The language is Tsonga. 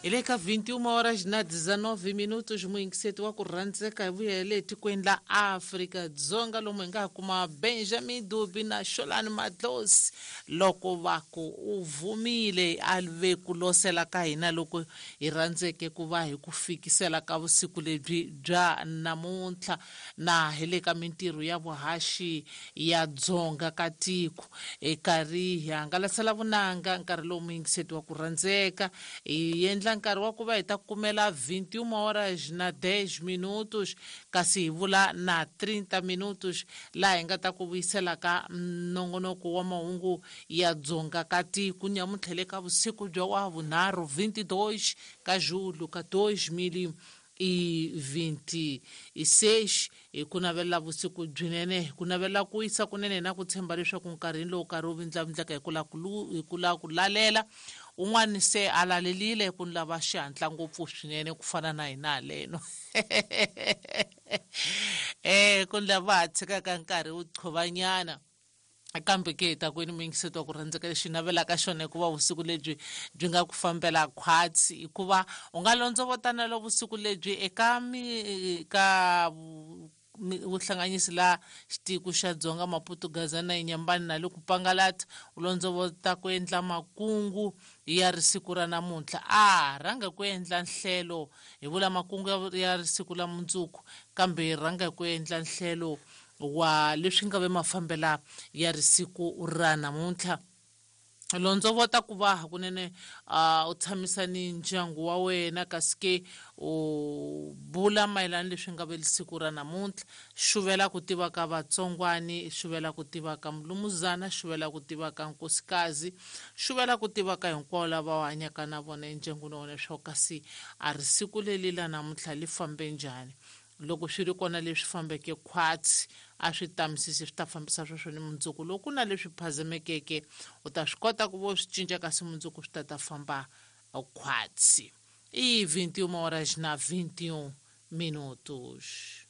Hi le ka 21 horas na 19 minutos muyingiseti wa ku rhandzeka hi vuya hi le tikweni la Afrika-Dzonga lomu hi nga ha kuma Benjamin Dubi na Xolani Madlosi loko va ku u vumile a ve ku losela ka hina loko hi rhandzeke ku va hi ku fikisela ka vusiku lebyi bya namuntlha na hi le ka mintirho ya vuhaxi ya dzonga ka tiko hi karhi hi hangalasela vunanga nkarhi lowu muyingiseti wa ku rhandzeka hi endla nkarhi wa ku va hi ta kumela 21 horas na 10 minutos kasi hi vula na 30 minutos laha hi nga ta ku vuyisela ka nongonoko wa mahungu ya dzonga ka tiko nyamuntlha le ka vusiku bya wa vunharhu 22 ka julho ka 2026 hi ku navelela vusiku byinene hi ku navelela ku wisa kunene na ku tshemba leswaku nkarhini lowu karhi wu vindlavindleka hi ku la ku hi ku lava ku lalela un'wana se a lalelile ku ni lava xihatla ngopfu swinene ku fana na hina haleno ku ni lava ha tshikaka nkarhi wu qhovanyana kambe ke hi ta kwini muyingiseti wa ku rhandzeka lexi navelaka xona hikuva vusiku lebyi byi nga ku fambela khwatsi hikuva u nga londzovotana lo vusiku lebyi eka mi ka vuhlanganisi la xitiko xa dzonga maputo gaza na inyambani na le ku pangalata u londzovota ku endla makungu ya risiku ra namuntlha a rhanga ku endla nhlelo hi vula makungu ya risiku la mundzuku kambe rhanga ku endla nhlelo wa leswi nga ve mafambela ya risiku ra namuntlha londzovota ku va hakunene u tshamisa ni ndyangu wa wena kasi ke u bula mayelana leswi nga ve siku ra namuntlha xuvela ku tiva ka vatsongwani xuvela ku tiva ka mulumuzana xuvela ku tiva ka nkosikazi xuvela ku tiva ka hinkwavo lava u hanyaka na vona endyangwini wa wena leswaku kasi a ri siku leli la namuntlha li fambe njhani loko swi ri kona leswi fambeke khwatsi a swi tamisisi swi ta fambisa sweswo ni mundzuku loko ku na leswi phazamekeke u ta swi kota ku vo swi cinca kasi mundzuku swi ta ta famba khwatsi i 21 horas na 21 minutos.